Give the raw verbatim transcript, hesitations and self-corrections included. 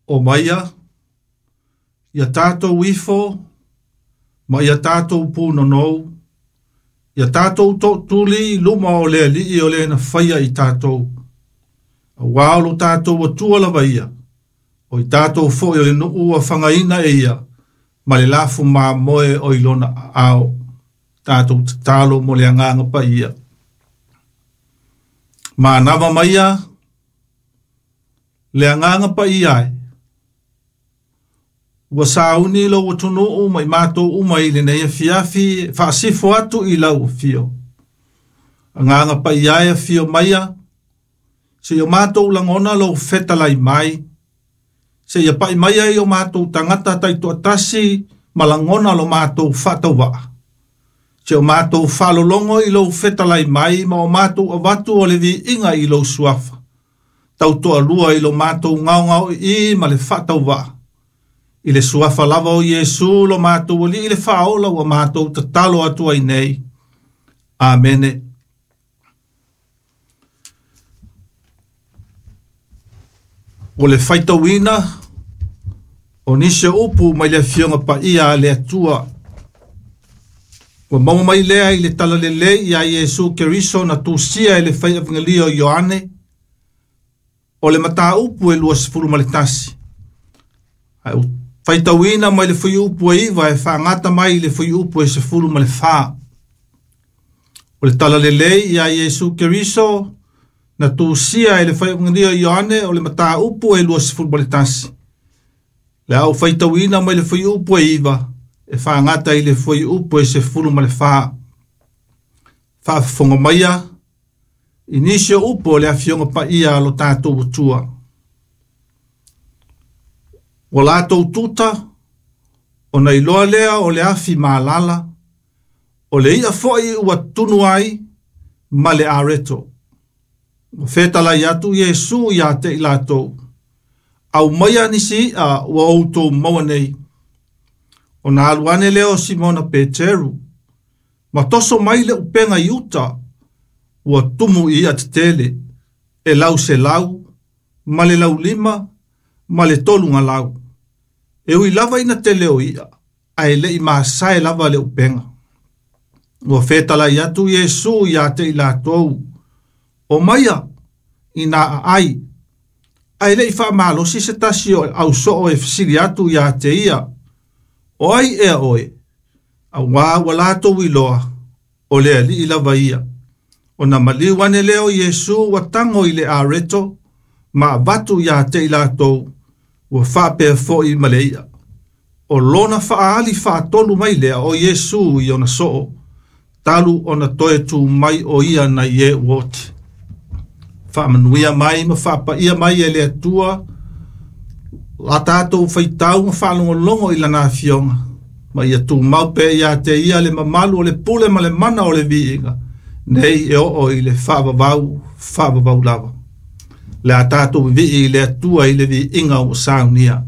O maia, ia tātou ifo, ma ia tātou pūnonou, ia tātou to'atuli i luma o le Alii o le na faia i tātou. Auā o lo tātou Atua lava ia, o i tātou fo'i o le nuu ua fagaina e ia, ma le lafu mamoe o i lona aao. Tātou tatalo mo le agaga paia. Manava maia, le agaga paia ai. Ua sauni lou atunuu ma i matou uma i lenei afiafi faasifo atu i lau afio. Agaga paia e afio maia, seia o matou lagona lou fetalai mai, seia pa'i mai ai o matou tagata taitoatasi ma lagona lo matou faatauvaa. Se o matou faalologo i lou fetalai mai ma o matou avatu o le viiga i lou suafa. Tautoalua i lo matou gaogaoi'i ma le faatauvaa. I le suafa lava o Iesu lo matou Alii le faaola ua matou tatalo atu ai nei. Amene. O le faitauina o nisi o upu mai le afioga paia a le Atua. Ua maua mai lea i le talalelei ia Iesu Keriso na tusia e le faiafagalio o Ioane, o le mataupu e luasefulu ma le tasi. Ae faitauina mai le fuiupu e iva e faagata mai i le fuiupu e sefulu ma le fā. O le talalelei ia Iesu Keriso na tusia e le faiafagalio o Ioane o le mataupu e luasefulu ma le tasi. Le au faitauina mai le fuiupu e iva e faagata i le fuiupu e sefulu ma le fā. Faafofoga maia i nisi o upu o le afioga paia a lo tātou Atua. Ua latou tuta, ona iloa lea o le afi malala, o le ia fo'i ua tunu ai ma le areto. Ua fetalai atu Iesu ia te i latou, aumaia nisi i'a ua outou maua nei. Ona alu ane lea o Simona Peteru, ma toso mai le upega i uta, ua tumu i i'a tetele, e lau selau, ma le laulima, ma le tolu galau. E ui lava ina tele o i'a, ae le'i masae lava le upega. Ua fetalai atu Iesu ia te i latou, o maia ina aai, ae le'i faamalosi se tasi o ausoo e fesili atu ia te ia, o ai ea oe, auā ua latou iloa, o le Alii lava ia. Ona maliu ane lea o Iesu ua tago i le areto, ma avatu ia te i latou, ua faapea fo'i ma le i'a. O lona faaali faatolu mai lea o Iesu i ona soo, talu ona toe tu mai o ia nai e ua oti. Faamanuia mai ma faapaia mai e le Atua, la tātou faitau ma faalogologo i lana afioga, ma ia tumau pea ia te ia le mamalu o le pule ma le mana o le viiga, nei e oo i le faavavau, faavavau lava. Le a tātou vivii i le Atua i le viiga ua saunia.